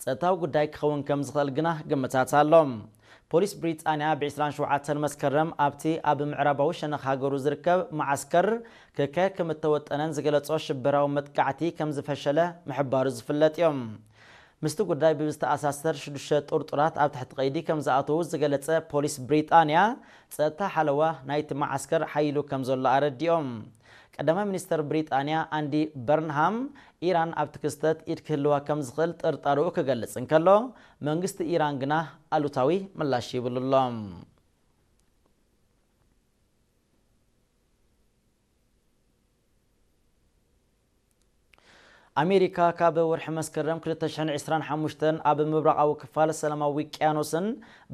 ጸጥታዊ ጉዳይ ክኸውን ከም ዝኽእል ግና ግምታት ኣሎ። ፖሊስ ብሪጣንያ ብ ዕስራን ሸውዓተን መስከረም ኣብቲ ኣብ ምዕራባዊ ሸነኽ ሃገሩ ዝርከብ መዓስከር ክካየድ ከም እተወጠነን ዝገለጾ ሽበራዊ መጥቃዕቲ ከም ዝፈሸለ ምሕባሩ ዝፍለጥ እዩ። ምስቲ ጉዳይ ብዝተኣሳሰር ሽዱሽተ ጥርጡራት ኣብ ትሕቲ ቀይዲ ከም ዝኣተዉ ዝገለጸ ፖሊስ ብሪጣንያ፣ ጸጥታ ሓለዋ ናይቲ መዓስከር ሓይሉ ከም ዘሎ ኣረዲኦም። ቀዳማይ ሚኒስተር ብሪጣንያ ኣንዲ በርንሃም፣ ኢራን ኣብቲ ክስተት ኢድ ክህልዋ ከም ዝኽእል ጥርጣርኡ ክገልጽ እንከሎ፣ መንግስቲ ኢራን ግና ኣሉታዊ ምላሽ ይብሉ ኣሎ። ኣሜሪካ ካብ ወርሒ መስከረም ክልተ ሽሕን ዕስራን ሓሙሽተን ኣብ ምብራቓዊ ክፋል ሰላማዊ ውቅያኖስን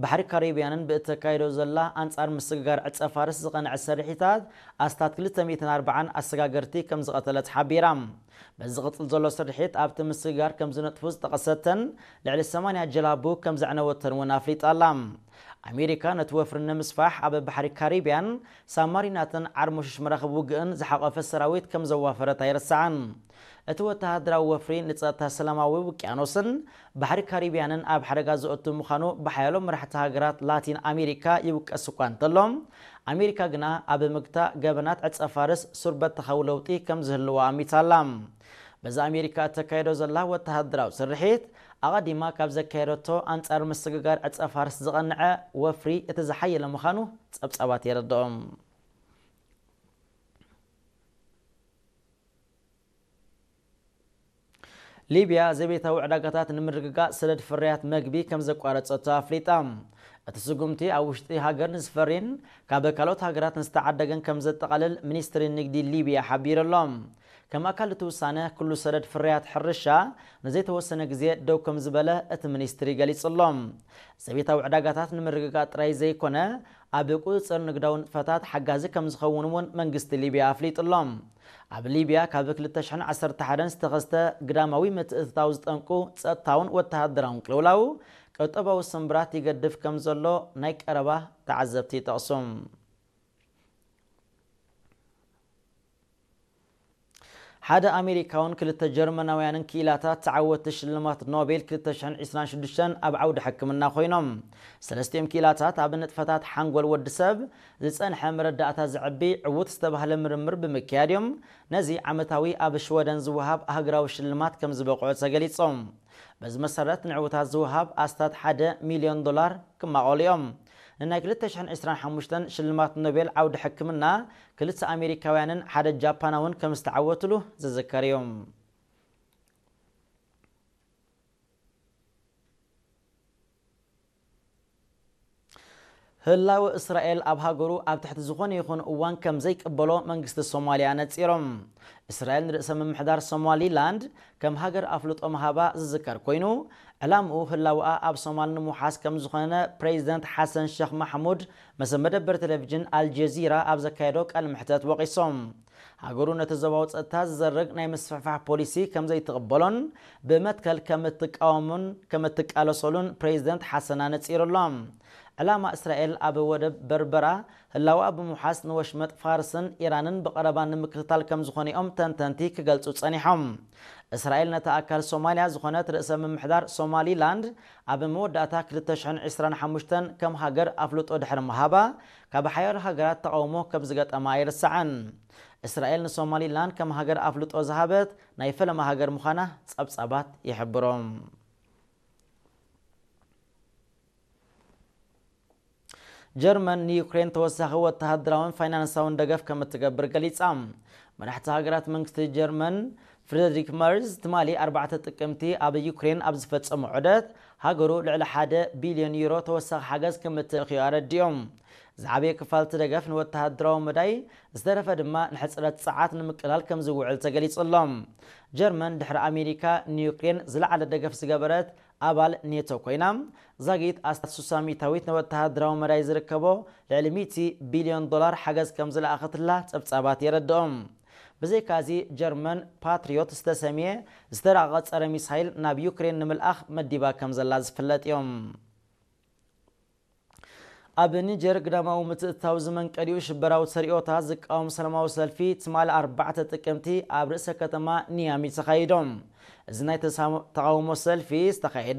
ባሕሪ ካሪብያንን ብእተካይዶ ዘላ ኣንጻር ምስግጋር ዕጸ ፋርስ ዝቐንዐ ስርሒታት ኣስታት ክልተ ሚእትን ኣርባዓን ኣሰጋገርቲ ከም ዝቐተለት ሓቢራ። በዚ ዝቕጽል ዘሎ ስርሒት ኣብቲ ምስግጋር ከም ዝነጥፉ ዝጠቐሰተን ልዕሊ ሰማንያ ጀላቡ ከም ዘዕነወተን እውን ኣፍሊጣ ኣላ። ኣሜሪካ ነቲ ወፍሪ ንምስፋሕ ኣብ ባሕሪ ካሪብያን ሳብማሪናትን ዓርሞሽሽ መራኽብ ውግእን ዝሓቖፈ ሰራዊት ከም ዘዋፈረት ኣይርሳዕን። እቲ ወተሃደራዊ ወፍሪ ንጸጥታ ሰላማዊ ውቅያኖስን ባሕሪ ካሪብያንን ኣብ ሓደጋ ዘእቱ ምዃኑ ብሓያሎ መራሕቲ ሃገራት ላቲን ኣሜሪካ ይውቀስ እኳ እንተሎ፣ ኣሜሪካ ግና ኣብ ምግታእ ገበናት ዕጸ ፋርስ ሱር በተኻዊ ለውጢ ከም ዝህልዋ ኣሚታ ኣላ። በዚ ኣሜሪካ እተካየዶ ዘላ ወተሃደራዊ ስርሒት፣ ኣቐዲማ ካብ ዘካየደቶ ኣንጻር ምስግጋር ዕጸ ፋርስ ዝቐንዐ ወፍሪ እቲ ዝሓየለ ምዃኑ ጸብጻባት የረድኦም። ሊብያ ዘቤታዊ ዕዳጋታት ንምርግጋእ ሰደድ ፍርያት መግቢ ከም ዘቋረጸቶ ኣፍሊጣ። እቲ ስጉምቲ ኣብ ውሽጢ ሃገር ንዝፈሪን ካብ ካልኦት ሃገራት ንዝተዓደገን ከም ዘጠቓልል ሚኒስትሪ ንግዲ ሊብያ ሓቢሩ ኣሎ። ከም ኣካል እቲ ውሳነ፣ ኩሉ ሰደድ ፍርያት ሕርሻ ንዘይተወሰነ ግዜ ደው ከም ዝበለ እቲ ሚኒስትሪ ገሊጹ ኣሎ። ዘቤታዊ ዕዳጋታት ንምርግጋእ ጥራይ ዘይኮነ፣ ኣብ ቁጽጽር ንግዳዊ ንጥፈታት ሓጋዚ ከም ዝኸውን እውን መንግስቲ ሊብያ ኣፍሊጡ ኣሎ። ኣብ ሊብያ ካብ ክልተ ሽሕን ዓሰርተ ሓደን ዝተኸስተ ግዳማዊ ምትእትታው ዝጠንቁ ጸጥታውን ወተሃደራውን ቅልውላው፣ ቁጠባዊ ስምብራት ይገድፍ ከም ዘሎ ናይ ቀረባ ተዓዘብቲ ይጠቕሱ። ሓደ ኣሜሪካውን ክልተ ጀርመናውያንን ክኢላታት ተዓወትቲ ሽልማት ኖቤል ክልተ ሽሕን ዕስራን ሽዱሽተን ኣብ ዓውዲ ሕክምና ኮይኖም። ሰለስቲኦም ክኢላታት ኣብ ንጥፈታት ሓንጎል ወዲ ሰብ ዝጸንሐ መረዳእታ ዘዕቢ ዕዉት ዝተባህለ ምርምር ብምክያድ እዮም ነዚ ዓመታዊ ኣብ ሽወደን ዝወሃብ ኣህጉራዊ ሽልማት ከም ዝበቕዑ ተገሊጾም። በዚ መሰረት ንዕዉታት ዝወሃብ ኣስታት ሓደ ሚልዮን ዶላር ክማቐሉ እዮም። ንናይ ክልተ ሽሕን ዕስራን ሓሙሽተን ሽልማት ኖቤል ዓውዲ ሕክምና ክልተ ኣሜሪካውያንን ሓደ ጃፓናውን ከም ዝተዓወትሉ ዝዝከር እዩ። ህላወ እስራኤል ኣብ ሃገሩ ኣብ ትሕቲ ዝኾነ ይኹን እዋን ከም ዘይቅበሎ መንግስቲ ሶማልያ ነጺሮም። እስራኤል ንርእሰ ምምሕዳር ሶማሊላንድ ከም ሃገር ኣፍልጦ ምሃባ ዝዝከር ኮይኑ፣ ዕላምኡ ህላወኣ ኣብ ሶማል ንምውሓስ ከም ዝኾነ ፕሬዚደንት ሓሰን ሸኽ ማሕሙድ ምስ መደበር ቴሌቪዥን ኣልጀዚራ ኣብ ዘካየዶ ቃለ መሕተት ወቒሶም። ሃገሩ ነቲ ዞባዊ ጸጥታ ዝዘርግ ናይ ምስፍሕፋሕ ፖሊሲ ከም ዘይትቕበሎን ብመትከል ከም እትቃወሙን ከም እትቃለሰሉን ፕሬዚደንት ሓሰን ኣነጺሩ ኣሎ። ዕላማ እስራኤል ኣብ ወደብ በርበራ ህላወኣ ብምውሓስ ንወሽመጥ ፋርስን ኢራንን ብቐረባ ንምክትታል ከም ዝኾነ እዮም ተንተንቲ ክገልጹ ጸኒሖም። እስራኤል ነታ ኣካል ሶማልያ ዝኾነት ርእሰ ምምሕዳር ሶማሊላንድ ኣብ መወዳእታ ክልተ ሽሕን ዕስራን ሓሙሽተን ከም ሃገር ኣፍልጦ ድሕሪ ምሃባ፣ ካብ ሓያሎ ሃገራት ተቓውሞ ከም ዝገጠማ ኣይርሳዕን። እስራኤል ንሶማሊላንድ ከም ሃገር ኣፍልጦ ዝሃበት ናይ ፈለማ ሃገር ምዃና ጸብጻባት ይሕብሩ። ጀርመን ንዩክሬን ተወሳኺ ወተሃደራውን ፋይናንሳውን ደገፍ ከም እትገብር ገሊጻ። መራሕቲ ሃገራት መንግስቲ ጀርመን ፍሬድሪክ መርዝ ትማሊ ኣርባዕተ ጥቅምቲ ኣብ ዩክሬን ኣብ ዝፈጸሞ ዑደት፣ ሃገሩ ልዕሊ ሓደ ቢልዮን ዩሮ ተወሳኺ ሓገዝ ከም እትልእኽ እዩ ኣረዲኦም። ዝዓበየ ክፋል እቲ ደገፍ ንወተሃደራዊ መዳይ፣ ዝተረፈ ድማ ንሕጽረት ጸዓት ንምቅላል ከም ዝውዕል ተገሊጹ ኣሎ። ጀርመን ድሕሪ ኣሜሪካ ንዩክሬን ዝለዓለ ደገፍ ዝገበረት ኣባል ኔቶ ኮይና፣ ዛጊት ኣስታት ስሳ ሚእታዊት ንወተሃደራዊ መዳይ ዝርከቦ ልዕሊ ሚእቲ ቢልዮን ዶላር ሓገዝ ከም ዝለኣኸትላ ጸብጻባት የረድኦም። ብዘይካዚ፣ ጀርመን ፓትሪዮት ዝተሰምየ ዝተራቐቐ ጸረ ሚሳይል ናብ ዩክሬን ንምልኣኽ መዲባ ከም ዘላ ዝፍለጥ እዮም። ኣብ ኒጀር ግዳማዊ ምትእትታው ዝመንቀሊኡ ሽበራዊ ተርእዮታት ዝቃወም ሰላማዊ ሰልፊ ትማሊ ኣርባዕተ ጥቅምቲ ኣብ ርእሰ ከተማ ኒያሚ ተኻይዶም። እዚ ናይ ተሳሞ-፣ ተቓውሞ ሰልፊ ዝተኻየደ